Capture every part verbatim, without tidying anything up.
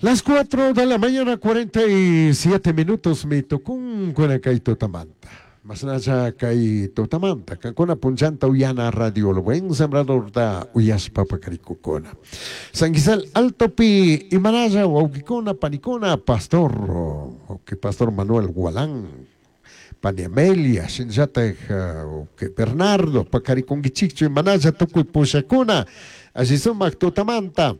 Las cuatro de la mañana, cuarenta y siete minutos, mi tucun kay tutamanta. Masnacha kay tutamanta. Kankuna punchanta uyana radio El Buen Sembrador da uyashpa pakarikukuna. San Gisel Altopi, Imanaya, wawkikuna, panikuna, pastor, wawki pastor Manuel Gualán, pani Amelia, shinllataj, wawki Bernardo, pakarikunkichikchu, Imanaya tukuy pushakuna, alli sumak tutamanta.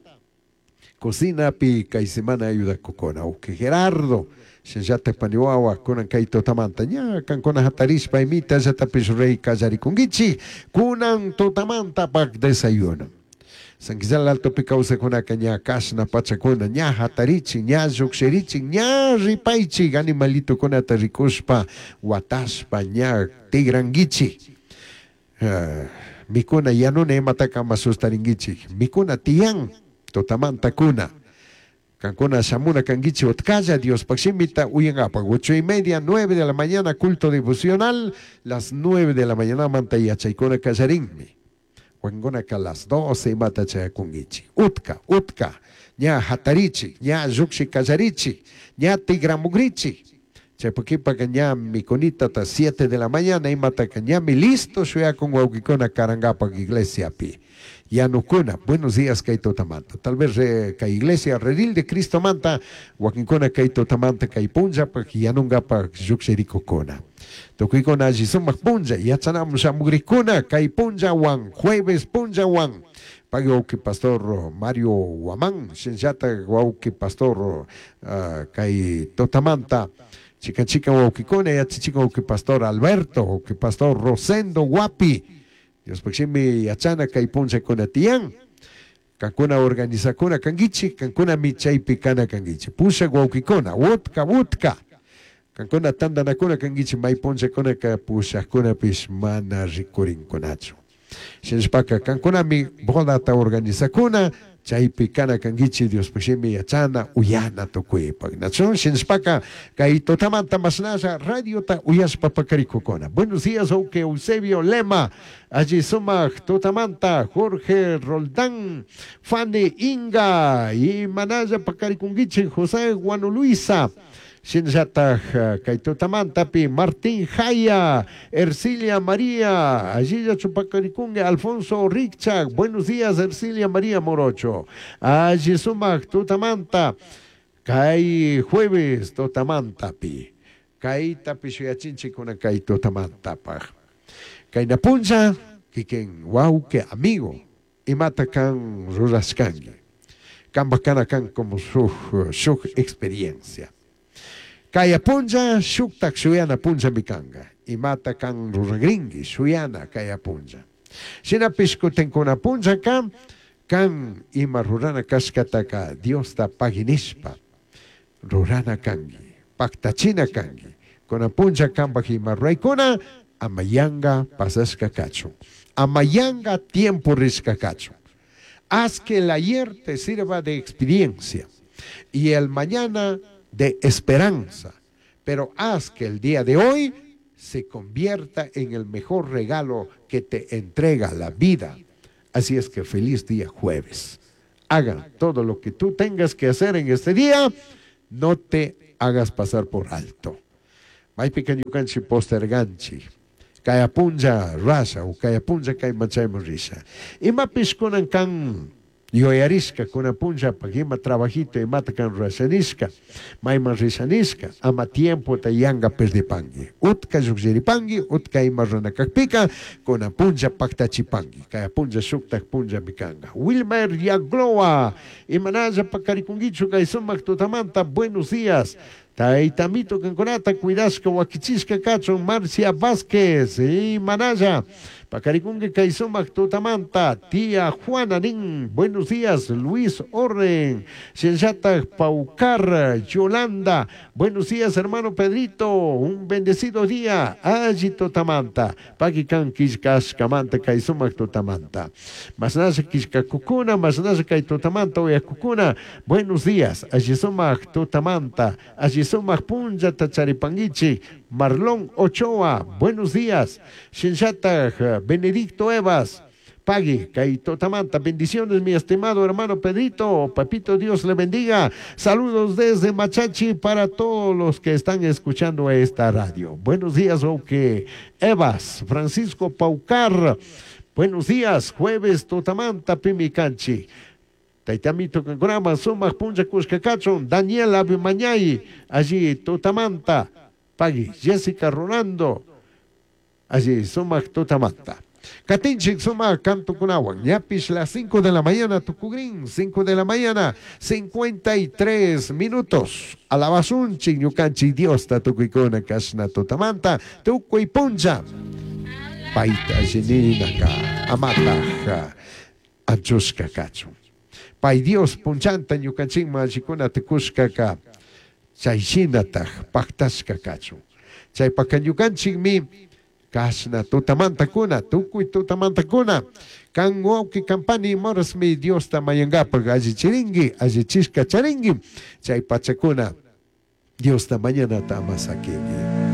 Cocina pi kay semana ayuda kukuna, wawki Gerardo, shinllataj paniwawa, kunan kay tutamanta, ña kankuna hatarishpa imita llatapish rey kallarikunkichik, kunan tutamanta pak desayuno. San Gisel Altopi kawsakunaka ña kashna pachakuna, ña hatarichi, ña llukshirichi, ña ripaychi, animalitokunata rikushpa, watashpa, ña tigrankichik. Uh, mikuna yanuna imataka ama sustarinkichik, mikuna tiyan, tutamanta kuna. Kankuna shamuna kankichik utkalla Diospaj shimita uyankapak. Ocho y media, nueve de la mañana, culto devocional, las nueve de la mañana manta yachaykuna kallarinmi. Wakinkunaka las doce imata chayakunkichik. Utka, utka, ña hatarichik, ña llukshi kallarichik, ña tigramugrichik. Chaypukipaka ña mikunitata siete de la mañana imataka ñami listo shuyakun wawkikuna karankapak iglesiapi. Yanukuna, buenos días kay tutamanta. Tal vez eh, kay iglesia Redil de Cristo manta, wakinkuna kay tutamanta kay punllapak yanunkapak llukshirikukuna. Tukuykuna alli sumak punlla, yachanamun shamugrikuna kay punllawan, jueves punllawan. Pagui wawki pastor Mario Guamán, shinllatak wawki pastor, uh, kay tutamanta. Chica chica wawkikuna, yachachikan wawki pastor Alberto, wawki pastor Rosendo Guapi. Dios shimi yachana kay punllakuna tiyan. Kankuna organizakuna kankichik, kankuna michaypi kana kankichik. Pushak wawkikuna, wutka, wutka. Kankuna tandanakuna kankichik, may punllakunaka pushakkunapish mana rikurinkunachu. Shinashpaka kankunami bodata organizakuna, chaypi kana kankichik Dios shimi yachana uyana tukuypak. Nachu shinashpaka kay tutamanta mashnasha radiota uyashpa pakarikukuna. Buenos días, wawki Eusebio Lema, alli sumak tutamanta, Jorge Roldán, Fanny Inga, y manaya pakarikunkichik José Guanuluisa. Shinllataj kay tutamantapi Martín Jaya, Ercilia María, allí ya chupacarikungue Alfonso Richak, buenos días Ercilia María Morocho, allí sumak tutamanta, kay jueves tutamantapi, kay tapishuyachinchikuna kay tutamantapaj, kay napuncha, kikin wauke amigo, imata kan rurashkangi, kan bacana kan como su, su experiencia. Kaya puncha, shuktak shuyana puncha mikanga. Imata kan ruragringi, shuyana kaya puncha. Shinapish kutenkuna puncha kan, kan ima rurana kashkataka Diosta paginishpa. Rurana kangi, paktachina kangi. Kuna puncha kanpaj ima ruraykuna, amayanga pasashka kachun. Amayanga tiempo rishka kachun. Haz que el ayer te sirva de experiencia y el mañana de esperanza, pero haz que el día de hoy se convierta en el mejor regalo que te entrega la vida. Así es que feliz día jueves. Haga todo lo que tú tengas que hacer en este día, no te hagas pasar por alto. Maypika ñukanchik posterganchik. Kaya punlla rasha o kaya punlla kay machayman risha. Imapish kunan kan yuyarishka kuna punlla pag ima trabajito imata kan rashanishka, mayman rishanishka, ama tiempo ta yanga perdipangi. Utka llukshiripangi, utka ima runakakpika, kuna punlla paktachipangi. Kaya punlla shuktak punlla mikanga. Wilmer Yagloa, imanalla pakarikungichu kay sumak tutamanta, buenos días. Taitamito kankunata cuidashka wakichishka kachun Marcia Vázquez y Manaya. Pacarikungue kay sumak tutamanta, tía Juana Nin, buenos días, Luis Orden, Shenyatak Paucar, Yolanda, buenos días, hermano Pedrito, un bendecido día, allí tutamanta, Paquican Kishkash Kamanta kay sumak tutamanta, Masnasha Kishka Kukuna, Masnasha kay tutamanta, oya Kukuna, buenos días, allí sumak tutamanta, allí sumak punlla tacharipanguichi, Marlon Ochoa, buenos días, Shenyatak Benedicto Evas, Pagui, kay tutamanta, bendiciones mi estimado hermano Pedrito, papito Dios le bendiga. Saludos desde Machachi para todos los que están escuchando esta radio. Buenos días, ok. Evas, Francisco Paucar. Buenos días, jueves tutamanta pimicanchi. Taitamito kankunama sumak puncha kushka Daniel Abimañay, allí tutamanta. Pagui, Jessica Rolando, allí sumak tutamanta. Katinchik sumak kantukunawan, ñapish las cinco de la mañana, tukugrin, cinco de la mañana, cincuenta y tres minutos. Alabasunchik, ñukanchik Diosta tukuykuna kashna tutamanta, tukuy puncha. Paita lleninaka, amataja, anchushka kachun. Pay Dios punchanta ñukanchikman allikuna tukushkaka, chay shinataj paktashka kachun. Chaypaka ñukanchikmi kashna tutamantakuna, tukuy tutamantakuna. Kan wawqi kampani morasmi Diosta mayankapak allichirinki, allichishka charinki. Chay pachakuna Diosta mañanata ama sakinki.